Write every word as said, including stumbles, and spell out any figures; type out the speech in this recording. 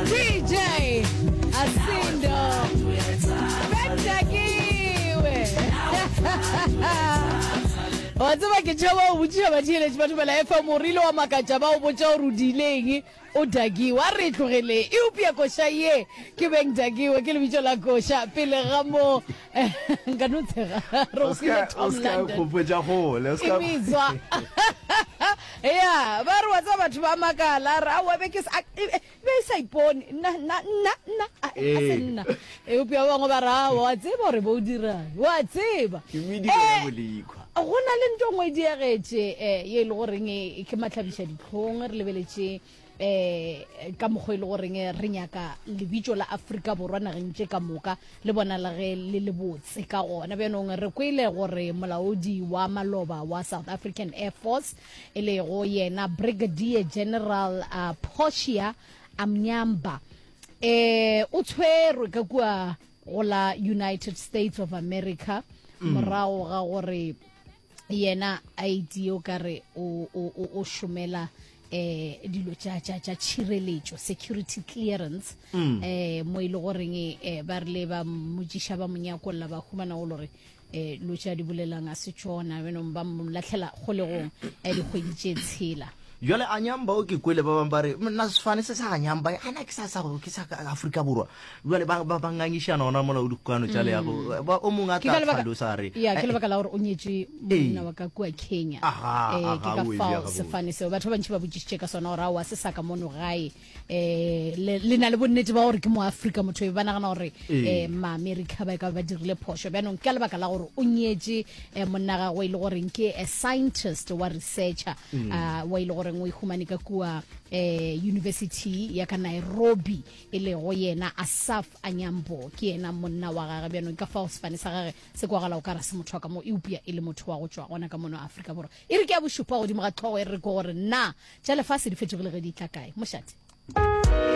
D J Asindo Bentakiwe. Wa tseba, ke tšhaba go botšiša batheeletši ba Thobela F M, o rile wa makatša ba o botša gore o diileng o dakiwe. A re tlogele, eupša koša ye ke Beng Dakiwe ke lebitso la koša. Pele ga mo nka no tshega re O go file ska Tom o ska London gopotša gole o e ska metswa ya ba re wa tseba batho ba makala re aowa be ke sa- a- e e- be e sa ipone nna nna nna nna a a se Ee. nna, eupša ba bangwe ba re aowa, wa tseba gore bo o dirang, wa tseba. Ke mediro ya um bolekhwa. Go na le nto nngwe e diegetše um ye e le goreng e ke matlhabiša ditlhong. Re lebeletše um ka mokgwa e le goreng re nyaka lebitso la Afrika Borwa nageng tše ka moka le bona le ge le le botse ka gona. Bjanong re kwele gore molaodi wa maloba wa South African Air Force, e lego yena Brigadier General uh, Portia Amnyamba, eh o tshwerwe ka kua go la United States of America morago ga gore yena a itie o kare o o o o šomela eh dilo tša tša tša tšhireletšo, security clearance, eh mo e le goreng eh ba rile ba mmotšiša, ba mo nyakolla, ba humana go le gore eh lo tša di bolelang a se tšona. Benong ba mo latlhela kgolegong eh dikgwedi tše tshela. Jale Anyamba o ke kwele ba bangwe ba re nna sefane se sa Anyamba ana ke sa sa ke sa Afrika Borwa. Jale ba ba ba ngangišana ona mola o dikokano tša leago ba o mongwe a Ke ka tla lebaka tlhalosa a re ya ke eh, lebaka la gore o nyetše monna wa ka kua Kenya. Aha, eh ke aha, ka o e bea fao gabotse. sefane seo batho ba bantši ba botšišitše ka sona gore aowa, se sa ka mono gae, eh le le na le bonnete ba gore ke mo Afrika motho e ba nagana gore Ee. eh Maamerika ba e ka ba dirile phošo. Bjanong ka lebaka la gore o nyetše eh, monna gagwe e le goreng ke a scientist wa researcher ah, wa e le goreng o e humane ka kua eh university ya ka Nairobi, e lego yena Asaf Anyambo, ke yena monna wa gage. Bjanong ka fao sefane sa gage se kwagala o ka ra se motho wa ka mo, eupša e le motho wa go tšwa gona ka mono Afrika Borwa. E re ke ya bošupa godimo ga tlhogo, e re ko gore na tša lefase di fetogile ge di tla kae mošate.